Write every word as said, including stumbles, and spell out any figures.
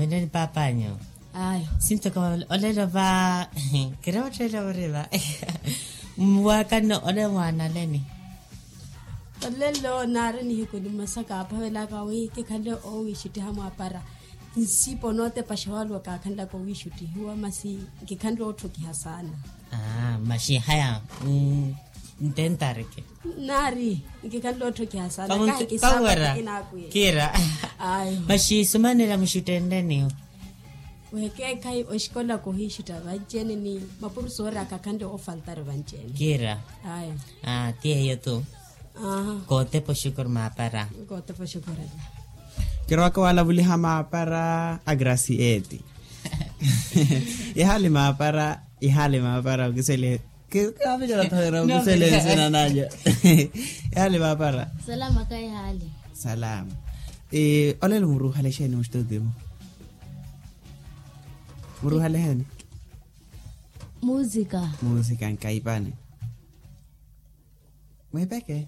Neni papanyu. Ayo. Sinto ka olelo va. Kira otela ore va. Mwakanno ole mwanaleni. Olelo nari nihiku ni masaka apavelaka wi kikhanle owishutiha mwapara. Nsipo notepaxa walwa kakhanlaka owishutihiwa masi. Kikhanle othokiha sana. Aa masi haya. Ntentareke. Nari nkikhanle othokiha sana. Kahi kisapati kinaakwiye. Kira. Ayo. Masi sumanela muxuttenleni. Wekeekhayi oxikola kohiixutta vanci-ene ni mapurusoori akakhanle ofaltari vanci-ene. Kira. Ayo. Aa ti eyo tu. Kootepa oxukuru maapara. Kootepa oxukuru. Kirowaka walavuliha maapara a gracieti. Ihaali maapara. Ihaali maapara okisele. Kaapicela thoera okisele nsina nalyo. Ihaali maapara. Salama ka ihaali. Salama. Olelo muruuhale exeeni muxituutimu? Muruuhale exeeni? Musika. Musika nkaipani. Mwipeke.